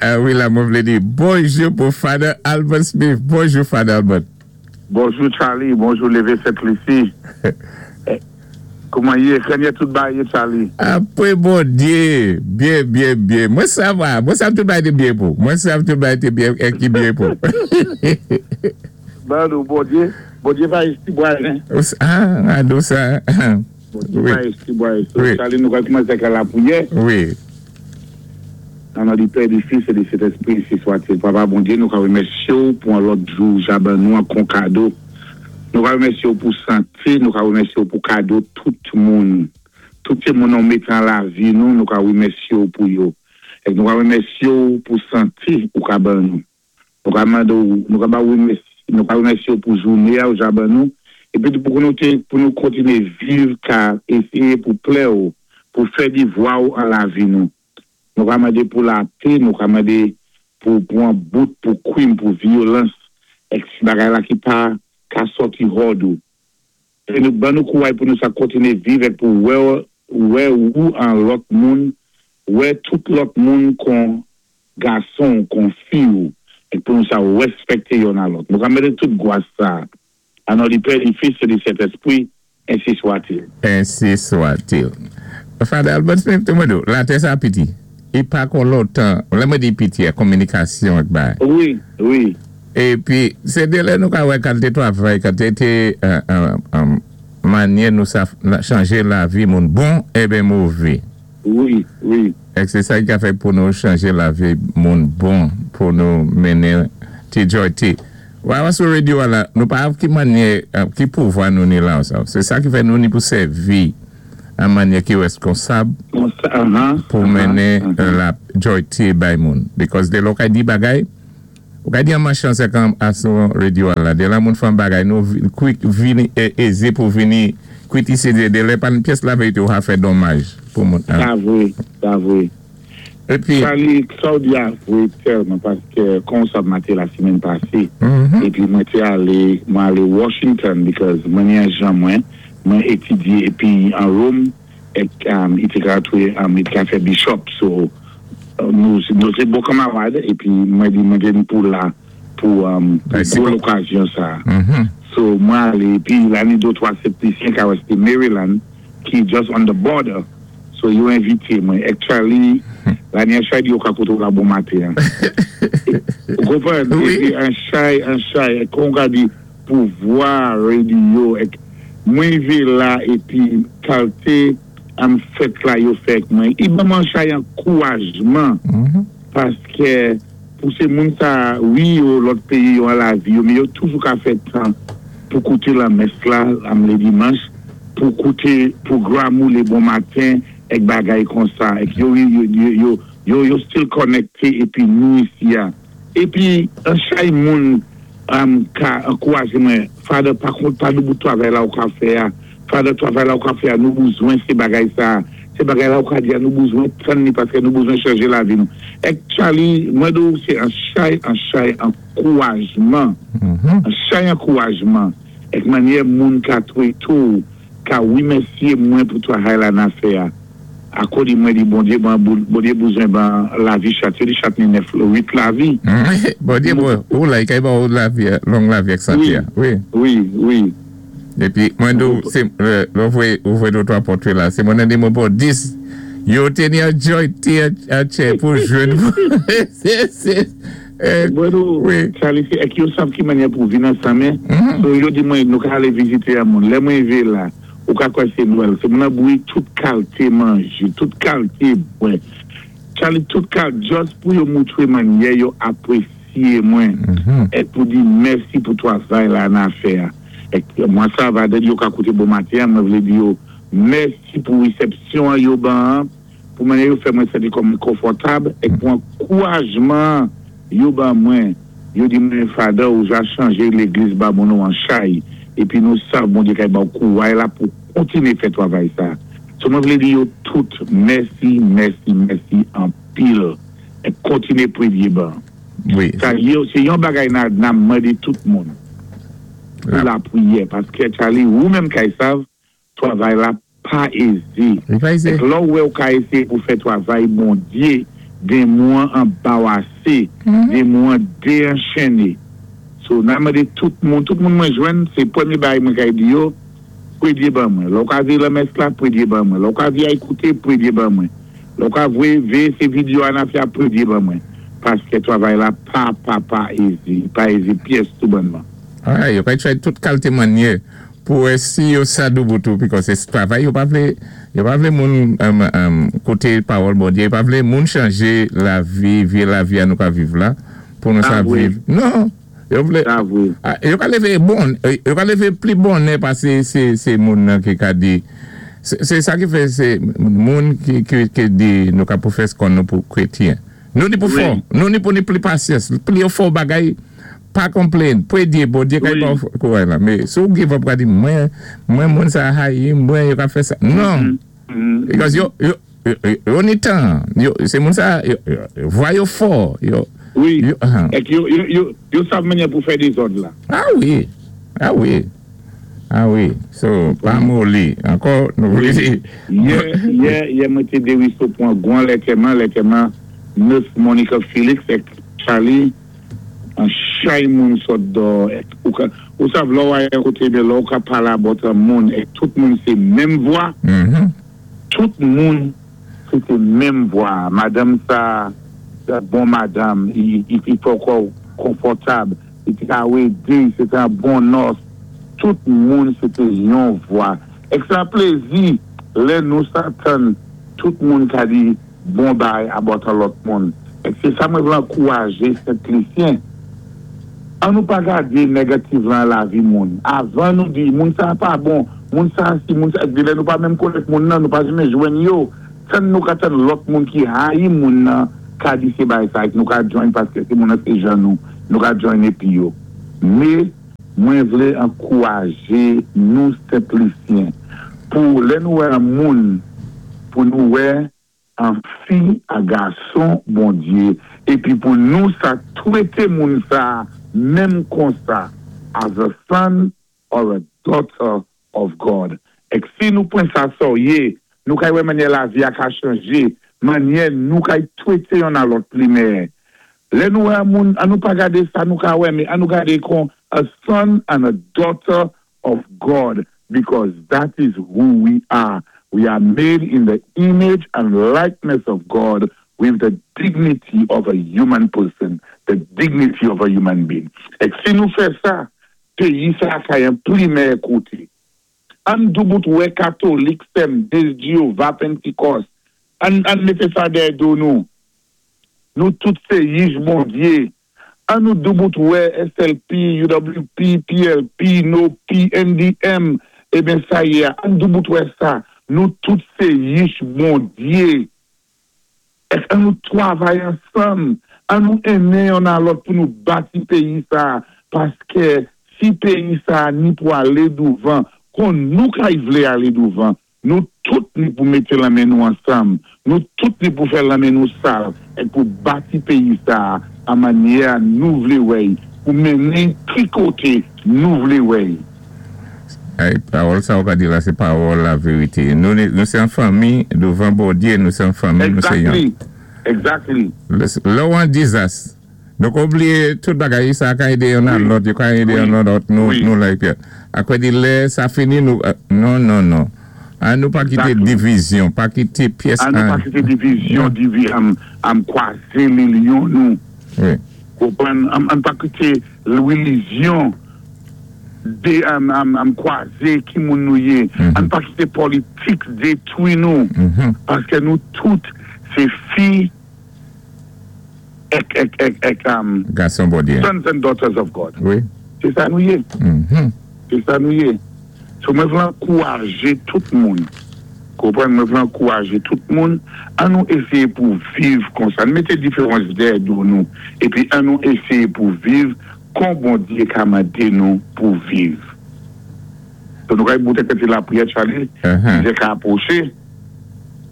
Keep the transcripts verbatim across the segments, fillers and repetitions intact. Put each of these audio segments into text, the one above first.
Wi, la, mwen vlé di bonjou pou Father Albert Smith. Bonjou, Father Albert. Bonjou, Charlie. Bonjou, Lévé Sent-Lisi. Kouman yé? Krenye tout bagay yé, Charlie? Apwé Bondyé, byen, byen, byen. Mwen sa va, mwen sa tout bagay té byen pou. Mwen sa tout bagay té byen, é ki byen pou. Ben, nou, Bondyé, Bondyé va esti bwa, hein? Ah, ah, sa. Bondyé va esti bwa. Charlie, nou ka koumansé ak lapwiyè. Wi. Nan non di Pè, di Fis é di Sentèspwi, ensi swa-t-il. Papa Bondyé, nou ka wimèsyé ou pou an lòt jou ja ban nou an kon kado. Nou ka wimèsyé ou pou santé, nou ka wimèsyé ou pou kado tout moun. Tout moun nou mét an lavi nou, nou ka wimèsyé ou pou yo. É nou ka wimèsyé ou pou santé ou ka ban nou. Nou ka mando, nou ka ba wimèsyé, nou ka wimèsyé ou pou jouné ou ja ban nou. Épi pou nou té, pou nou kontiné viv ka éséyé pou plè ou, pou fè di vwa ou an lavi nou. Nou ka mandé pou lapè, nou ka mandé pou pou an bout, pou kwim, pou vyolans, ek si bagay la ki pa ka sòti hòd ou. É nou ban nou kouway pou nou sa kontiné viv ek pou wè wè ou an lòt moun, wè tout lòt moun kon gason, kon fi ou, ek pou nou sa wèspèkté youn a lòt. Nou ka mandé tout gwas sa. An non di Pè, di Fis, é di Sentèspwi, ensi swa-t-il. Ensi swa-t-il. Father Albert Smith, té mwen latè sa piti. É pa kon lontan, lè mwen di piti, kominikasyon ak bay. Wi, wi. Épi, sé de lè nou ka wè kalité twavay, kalité manyè nou sa chanjé lavi moun bon é ben mové. Wi, wi. Ek sé sa ki ka fè pou nou chanjé lavi moun bon, pou nou mennen ti joy ti. Wè sou radyo la, nou pa av ki manyè, ki pouvwa nou ni la ou sa. Sé sa ki fè nou ni pou sèvi an manyè ki wèskonsab pou mennen la joy ti bay moun. Because de lò ka di bagay, ou ka di an machan se kan asou radyo la, de la moun fan bagay, nou kwik vini, eze pou vini kwitise de, de lè pan pyès la verite ou ha fè domaj pou moun. Sa vwé, sa vwé. Épi Charlie, sa ou di a vwé tèlman, paské kon sa maté la simenn pasé, épi mwen té alé, mwen alé Washington, because mwen ni an jan mwen, mwen étudyé épi an Rome, ek i té ka twé, i té ka fè bishop, so nou sé bon kamarad, épi mwen di mwen gen pou la, pou pou l'okasyon sa. So mwen alé, épi la ni do twa septisyen ka wè sé Maryland, ki just on the border, so yo envité mwen. Actually, la ni an chay di yo ka koto la bon maten. Ou konpwann? Épi an chay, an chay, kon ka di pouvwa radio, ek mwen vi la, épi kalité am fèt la yo fèk mwen. I ban mwen chay ankourajman, paské pou sé moun sa, wi yo lòt péyi yo an lavi yo, mé yo toujou ka fè tan pou kouté la mès la, am lé dimanch, pou kouté pwogram ou lé bon maten, ek bagay kon sa, ek yo yo yo yo yo still connecté, épi nou isi ya. Épi, an chay moun am ka ankourajé mwen, Father, pa kont pa nou bout twavay la ou ka fè ya, Father, twavay la ou ka fè ya, nou bouzwen sé bagay sa, sé bagay la ou ka di ya, nou bouzwen tann ni, paské nou bouzwen chanje lavi nou. Ek Charlie, mwen do, sé an chay, an chay ankourajman, an chay ankourajman, ek manyè moun ka twé tou, ka wimèsyé mwen pou twavay la nan fè ya. Akò di mwen di Bondyé, Bondyé bouzwen ban lavi chat, yo di chat ni nèf, wit lavi. Bondyé bon, ou la, i kay ba ou lavi, long lavi ak santé ya. Wi, wi, wi. Épi, mwen do, se, lò vwe, ou vwe do twa pòtwé la, sé mwen nan di mwen pou dis, yo té ni an joy ti a chè pou jwenn. Se, se, Mwen do, Charlie, se ek yo sav ki manyè pou vin ansanmè, so yo di mwen nou ka ale vizité a moun, lè mwen ve la, ou ka kwa sé Nwèl, sé moun an bouyi tout kalité manjé, tout kalité bwè. Charlie, tout kalité, just pou yo moutwé manyè yo apwésyé mwen, ek pou di mèsi pou twavay la nan fè a. Ek mwen sa va de yo ka kouté bon maten, mwen vlé di yo mèsi pou resepsyon yo ban, pou manyè yo fè mwen santi kòm konfòtab, ek pou ankourajman yo ban mwen, yo di mwen Father ou ja chanje légliz ba moun nou an chay, épi nou sav Bondyé kay ba ou kouway la pou kontiné fè twavay sa. So mwen vlé di yo tout, mèsi, mèsi, mèsi, an pil, e kontiné pwédyé ban. Wi. Sa yo, sé yon bagay nan, nan mandé tout moun. Pou La. lapwiyè, paské Charlie, ou menm kay sav, twavay la pa ézé. Li pa ézé. Ek lò wè ou ka éséyé pou fè twavay Bondyé, Démon anbawasé, démon dénchenné. So, nan mandé tout moun, tout moun mwen jwenn, sé pwémyé bagay mwen kay di yo, pwédyé ban mwen. Lè ou ka vé lanmès la, pwédyé ban mwen. Lè ou ka vé a ékouté, pwédyé ban mwen. Lè ou ka vwé, vé sé vidéo an a fè, pwédyé ban mwen. Paské twavay la pa, pa, pa ézi, pa ézi pyès tou bonnman. Ah, yo kay try tout kalité mannyè pou wè si yo sa doubout ou, because sé twavay, yo pa vlé, yo pa vlé moun um, um, kouté pawòl Bondyé, yo pa vlé moun chanjé lavi, vyé lavi a nou ka viv la, pou nou sa Ah, wi. Viv. Non, yo vlé, Ah, wi. Ah, yo ka lévé bon, yo ka lévé pli bonnè pasé sé, sé moun nan ki ka di, sé sé sa ki fè sé moun ki, ki, ki di nou ka pwofès kon nou pou krétyen. Nou ni pou Wi. fò, nou ni pou ni pli pasyans, pli yo fò bagay, pa konplenn, pwédyé, Bondyé kay Wi. pa kouwè la. Mé si ou give up ka di, mwen, mwen moun sa hayi, mwen yo ka fè sa. Non, Mm. because yo, yo, yo, yo ni tan, yo, sé moun sa, yo, yo, vwa yo fò, yo, Wi. yo, uh-huh. Ek yo, yo, yo, yo sav mannyè pou fè dézòd la. Ah wi, ah wi, ah wi. So, pa moli. Ankò, nou vlé di. Yè, yè, yè mwen té Desruisseaux pou an gwan lètèman, lètèman, nèf Monica Felix ek Charlie, an chay moun sot do, ek, ou ka, ou sav lò wè koté de lò ou ka pala bot an moun, ek tout moun sé menm vwa, Mhm. tout moun sé té menm vwa. Madanm sa, sa bon madanm, i, i, i fò kwa konfòtab, i ti ka wé di, sé an bon nòs, tout moun sé té yon vwa. Ek sa plézi, lè nou sa tann, tout moun ka di bon bay about an lòt moun. Ek sé sa mwen vlé ankourajé Sent Lisyen. An nou pa gadé négatif lan lavi moun. Avan nou di, moun sa pa bon, moun sa si, moun sa, di lè nou pa menm konnèt moun nan, nou pa janmé jwenn yo. Tann nou ka tann lòt moun ki hayi moun nan, ka di sé bay sa, ek nou ka join paské sé moun nan sé jan nou, nou ka join épi yo. Mé, mwen vlé ankourajé nou Sent Lisyen pou lè nou wè an moun, pou nou wè an fi a gason Bondyé, épi pou nou sa twété moun sa, menm konsa, as a son or a daughter of God. Ek si nou pran sa séryé, nou kay wè mannyè lavi a ka chanjé, mannyè nou kay twété yon a lòt pli meyè. Lè nou wè moun, an nou pa gadé sa nou ka wè, mé an nou gadé kon a son and a daughter of God, because that is who we are. We are made in the image and likeness of God with the dignity of a human person, the dignity of a human being. Ek si nou fè sa, péyi sa ka yon pli meyè koté. An doubout wè katolik sem, des Jéhovah, Pentecost, an, an mété sa dèyè do nou. Nou tout sé yich Bondyé. An nou doubout wè S L P, U W P, P L P, N O P, N D M, eben sa yé, an doubout wè sa. Nou tout sé yich Bondyé. Ek an nou twavay ansanm, an nou enmen yon a lòt pou nou bati péyi sa, paské si péyi sa ni pou alé douvan, kon nou kay vlé alé douvan, nou tout ni pou mété lanmen nou ansanm, nou tout ni pou fè lanmen nou sal, ek pou bati péyi sa an mannyè nou vlé wè y, pou mennen ki koté nou vlé wè y. Ay, pawòl sa ou ka di la, sé pawòl lavérité. Nou, nou sé an fanmi, douvan Bondyé, nou sé an fanmi, nou sé yon. Exactly, exactly. Lè ou an dizas, donk oubliyé tout bagay, sa ka édé yon an Wi. Lòt, yo ka édé Wi. yon an lòt, nou, Wi. nou like. Akwè di lè, sa fini nou, euh, non, non, non. An nou pa kité Exactly. divizyon, pa kité pyès An nou pa an. kité divizyon, divi, am, am kwazé lilyon nou. Wi. Konprann, an, an pa kité rélijyon dé am, am, am kwazé ki moun nou yé. Mhm. An pa kité politik détwi nou. Mhm. Paské nou tout, sé fi ek, ek, ek, ek, am, Gason Bondyé. Sons and daughters of God. Wi. Sé sa nou yé. Mhm. Sé sa nou yé. So mwen vlé ankourajé tout moun. Konprann, mwen vlé ankourajé tout moun an nou ésyé pou viv konsa. An mété différans dèyè do nou. Épi an nou ésyé pou viv kon Bondyé ka mandé nou pou viv. So nou kay boute kèti lapriyè, Charlie, Uh-huh. uh ka apwoché.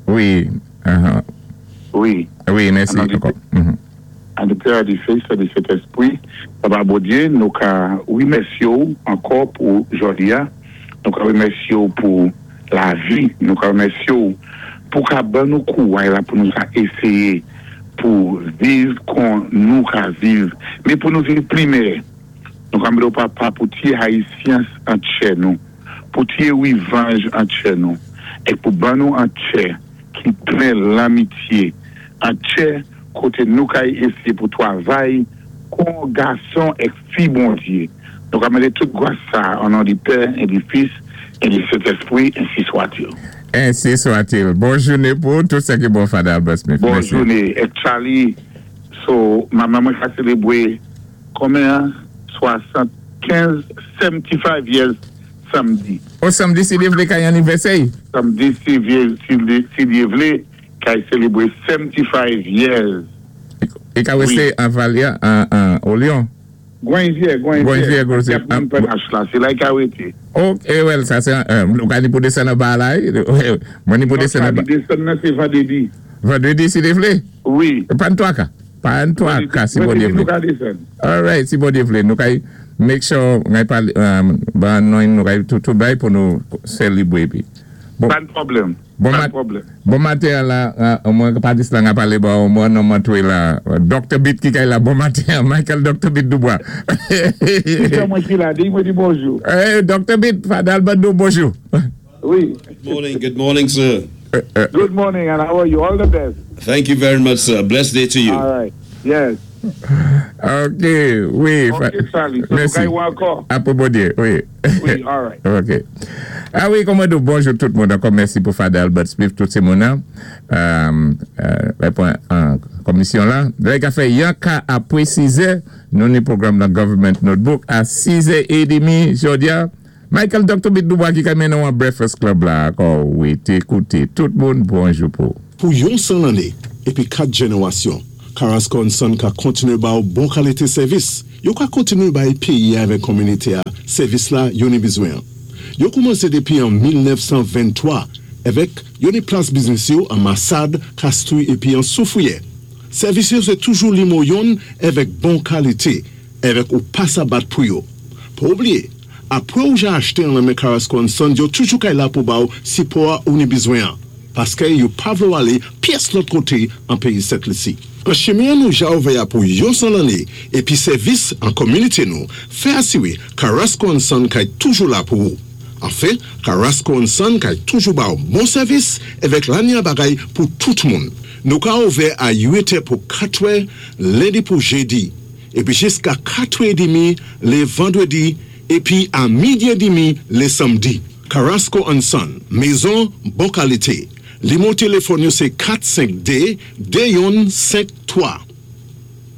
Wi. Uh-huh. Wi. Wi, mèsi. An nou Ankò. Mhm. An di Pè, di Fis, di Sentespwi, Papa Bondyé, nou ka wimèsyé ou ankò pou jòdi a, nou ka wimèsyé ou pou lavi, nou ka wimèsyé ou pou ka ban nou kouway la pou nou ka ésyé, Pou viv kon nou ka viv, mé pou nou viv pli méyè. Nou ka mandé Papa pou tiwé hayisyans an tjè nou, pou tiwé wivanj an tjè nou, é pou ban nou an tjè ki plen lanmityé, an tjè koté nou kay ésyé pou twavay kon gason é fi Bondyé. Nou ka mandé tout gwas sa o non di Pè é di Fis é di Sentèspwi, ensi swa-t-il. Ensi swa-t-il. Bon jouné pou tout sa ki bon, Father Albert Smith. Bon Mèsi. Jouné. É Charlie, so, manman mwen ka sélébwé konbyen? swasannkenz, seventy-five years samdi. O samdi, si Dye vlé kay anivèsè. Samdi, si Dye, si, si Dye vlé, kay sélébwé seventy-five years. É ka Wi. wé an Valia, an, an, o Lyon. Gwanvye, Gwanvye, Gwanvye. Gwanvye. Y ap P N H la, sé la ka wété. Ok, well, sa sé, euh, nou ka ni pou désann anba la, eh. Mwen ni pou désann anba. Désann nan sé vandrédi. Vandrédi, si Dye vlé? Wi. Pa an twaka. Pa an twaka, si Bondyé Vandrédi vlé. Nou ka désann. All right, si Bondyé vlé. Nou kay make sure, ngay pal, um, ban nou nou kay tout, tout bay pou nou sélébwé pi. Bon, Pa d pwoblèm. Bon Pa mat- d pwoblèm. Bon maten la, euh, mwen pa dis la nga palé ba, mwen nou mantwe la, Doctor Beat ki kay la, bon maten, Michael Doctor Beat Dubois. Si sé mwen ki la, di mwen di bonjou. Eh, Doctor Beat, Father Albert dou bonjou. Wi. Good morning, good morning, sir. Good morning and how are you? All the best. Thank you very much, sir. Blessed day to you. All right. Yes. Ok, wi. Ok, Charlie. So, Mèsi. nou kay wè ankò. Apwé Bondyé, wi. Wi, all right. Ok. A wi, kòman dou bonjou tout moun. Ankò mèsi pou Father Albert Smith, tout sé moun nan. Euh, euh, an komisyon la. Lè ka fè yon ka apwé sizè, nou ni pwogram nan Government Notebook a sizè édmi jòdi a. Michael Doctor Beat Dubois ki ka mennen an Breakfast Club la. Ankò, wi, té kouté. Tout moun, bonjou pou. Pou yon san lanné, épi kat jénéwasyon, Carrasco and Son ka kontiné ba ou bon kalité sèvis. Yo ka kontiné bay péyi avèk kominité a, sèvis la yo ni bizwen. Yo koumansé dépi an mil nèf san venntwa, avèk yo ni plas biznis yo an Massade, Castries épi an Soufrière. Sèvis yo sé toujou nimewo youn avèk bon kalité, avèk ou pa sa bat pou yo. Pa oubliyé, apwé ou ja achté an nan men Carrasco and Son, yo toujou kay la pou ba ou sipò ou ni bizwen an. Paské yo pa vlé ou alé pyès lòt koté an péyi Sent Lisi. An chimen nou ja ouvè a pou yon san lanné, épi sèvis an kominité nou, fè asiwé Carrasco and Son kay toujou la pou ou. Anfen, Carrasco and Son kay toujou ba ou bon sèvis avèk lanya bagay pou tout moun. Nou ka ouvè a uit è pou katwè, lendi pou jédi, épi jiska katwè édmi lé vandrédi, épi a midi édmi lé samdi. Carrasco and Son, mézon bon kalité. Nimewo téléfòn yo sé kat senk de, de youn senk twa.